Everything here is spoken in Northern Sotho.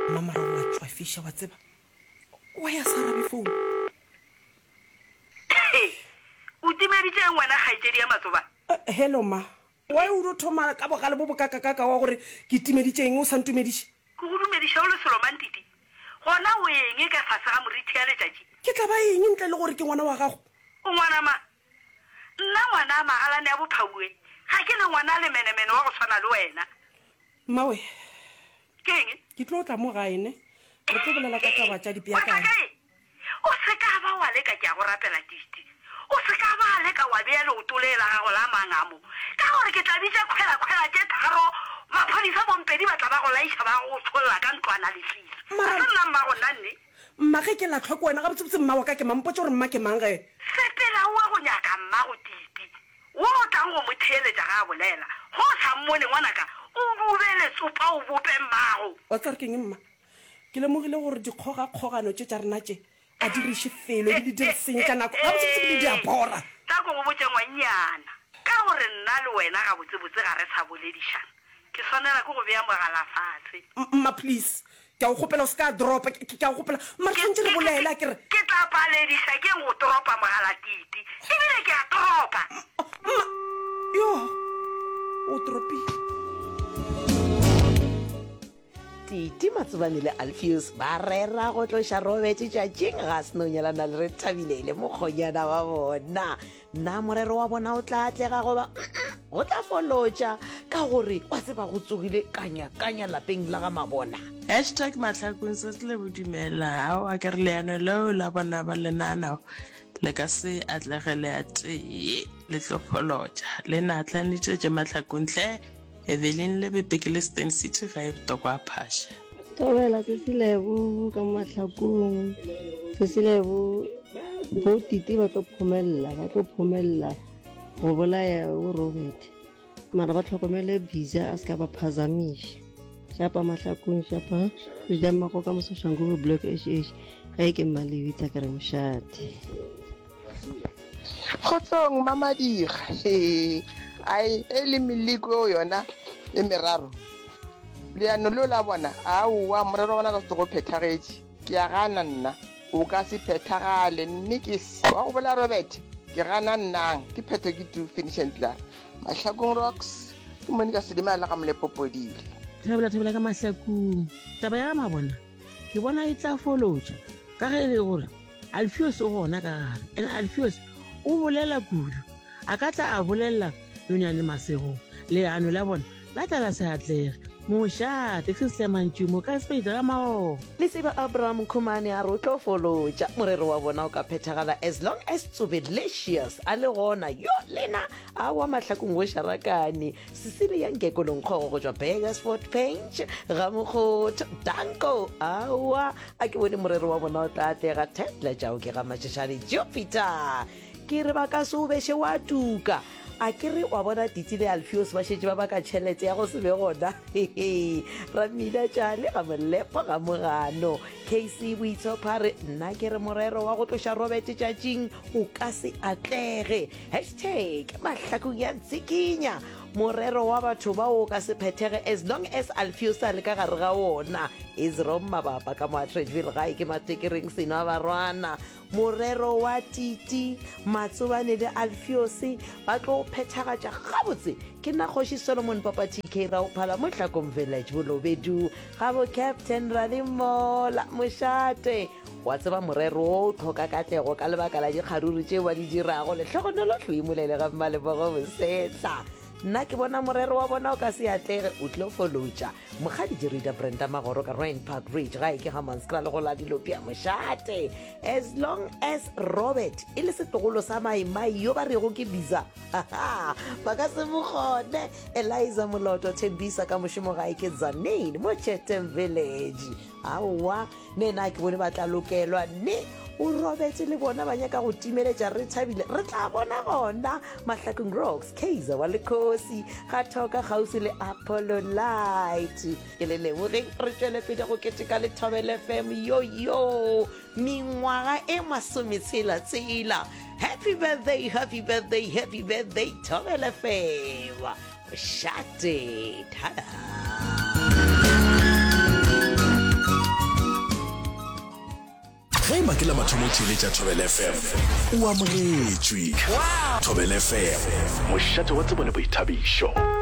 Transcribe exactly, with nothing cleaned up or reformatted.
Mma mara wa tšwafiša wa tseba. Wa ya sa arabe phone. O timeditše eng wena kgaetšedi ya Matsoba? Uh, hello ma. Why o do thoma ka bogale bo bokakakaka wa gore ke timeditše eng o sa ntumediše? Ke go dumediša o le selo Mantiti. Gona o eng ka fase ga morithi ya letšatši? Ke tla ba eng ntle le gore ke ngwana wa gago? O ngwana mang? Nna ngwana a magalane a bophauwe, ga ke ne ngwana a lemenemene wa go swana le wena. Mmawe. Ke eng? Ke tlo tla mo gae ne. Re tlo bolela ka taba tša Wa tla dipeakanyo. kae? O se ka ba wa leka, ke a go rapela Titi. O se ka ba leka wa bea leoto le la gago la mangamo, ka gore ke tla bitša khwela-khwela tše tharo, maphodisa bompedi ba tla ba go laiša ba go tšholla ka ntlwana leswiswi. Ga Mara se nna mmago nna nne. mma ge ke lahlwa ke wena, gabotsebotse mma wa ka ke mang? Mpotše gore mma ke mang ge. Sepela o ye go nyaka mmago Titi, wo o tlang go mo theeletša ge a bolela. Ge o sa mmone, ngwanaka, o dube letsopa o bope mmago. Wa tseba gore ke eng mma? Ke lemogile gore dikgogakgogano tše tša rena tše a di re iše felo ebile di re senyetša nako. Gabotsebotse ebile di a bora. Tla ko go botše ngwannyana, ka gore nna le wena gabotsebotse ga re sa boledišana, ke swanela ke go bea mogala fase. Mma please, ke a go kgopela o se ka dropa, ke, ke a go kgopela. Mma re Ke, swanetše re ke, ke, bolele, a ke re. ke tla palediša ke'ng go toropa mogala Titi? Ebile ke a toropa. Mma, yo, o toropile. Titi Matsobane le Alfios ba rera go tloša Robert tšatšing ga a se no nyalana le Rethabile le mokgonyana wa bona. Na morero wa bona o tla atlega goba go tla folotša ka gore wa tseba go tsogile kanya-kanya lapeng la ga Mabona? Hashtag Mahlakung se se le bodumela. Aowa ke re leano leo la bona ba le naganago le ka se atlege le a tee le tlo folotša. Le naatlanitše tše Mahlakung hle. Evelyn Lebepe ke le Steyn City gae Botokwa a Phasha. Thobela Sesilebo ka Mahlakung. Sesilebo bo Titi ba tlo phomella, ba tlo phomella go bolaya o Robert. Mara ba tlhokomele Biza a se ka ba phazamiša. Shapa Mahlakung, shapa. Re mmago ka Mososhanguve Block H H. Ga e ke Mmalebitsa ke re mošate. Kgotsong Mamadira. He. Ai e le meleko eo yona e meraro. Leano leo la bona, aowa morero wa bona ka se go phethagetše. Ke a gana nna. O ka se phethagale mme ke se. Wa go bola Robert, ke gana nnang. Ke phetho ke tu finish and klaar. Mahlakong Rocks, ke Monica Sedima le ga Molepopodile. Thabela thabela ka Mahlakung. Taba ya Mabona ke bona e tla folotša ka ge e le gore Alfios o gona ka gare. And Alfios o bolela kudu. A ka tla a bolelela Nonyane Masego leano la bona la tla la se atlege. Mošate se se mantšu mo ka spade ga maogo. Lesiba Abraham Khumane a re o tlo folotša morero wa bona o ka phethagala as long as Tsobelicious a le gona. Yo lena awa Mahlakung go šarakane. Cecilia Nkeko Lonkgogo go tšwa Burgersfort Paint ga Mokgotho Danko awa a ke bone morero wa bona o tla atlega. Tetla tšao ke ga Matšešane Jupiter ke re ba ka se o beše wa tuka. A ke re wa bona Titi le Alfios ba šetše ba baka tšhelete ya go se be gona. Ramina tšale ga Molepo ga Mogano. K C Boitshopha re nna ke re morero wa go tloša Robert tšatšing o ka se atlege. Hashtag Mahlakung ya ntsikinya. Morero wa batho ba o ka se phethege as long as Alfios a le ka gare ga wona. Isrom mabapa ka mo Atteridgeville gae ke matekereng seno a barwana. Morero wa Titi Matsobane le Alfios ba tlo phethagatša gabotse. Ke nna Kgoši Solomon Papa T K Raophala mo Hlakong Village Bolobedu ga bo Captain Radimola Mošate. Wa tseba morero o tlhoka katlego ka lebaka la dikgaruru tšeo ba di dirago. Lehlogonolo Hloimolele ga Mmalebogo Bosetla. Nna ke bona morero wa bona o ka se atlege, o tlo folotša. Mokgadi Jerida Brenda Magoro ka Rand Park Ridge gae ke Hammanskraal go la Dilopia Mošate. As long as Robert e le setlogolo sa maimai yo ba rego ke Biza, ba ka se mo kgone. Eliza Moloto Thembisa ka mošomo gae ke Tzaneen mo Chatham Village. Aowa ne nna ke bone ba tla lokelwa ne o Robert le bona ba nyaka go timeletša re thabile re tla bona gona Mahlakung Rocks Kaizer wa Lekgosi ga thoka kgauswi le Apollo Light. Ke le lebogeng re tšwele pele go keteka le Thobela F M yo yo mengwaga e masometshela tsela. Happy birthday, happy birthday, happy birthday Thobela F M. Mošate tada. Ge e ba ke la mathomo o theeletša Thobela F M, o amogetšwe. Thobela F M, mošate wa tsebo le boithabišo.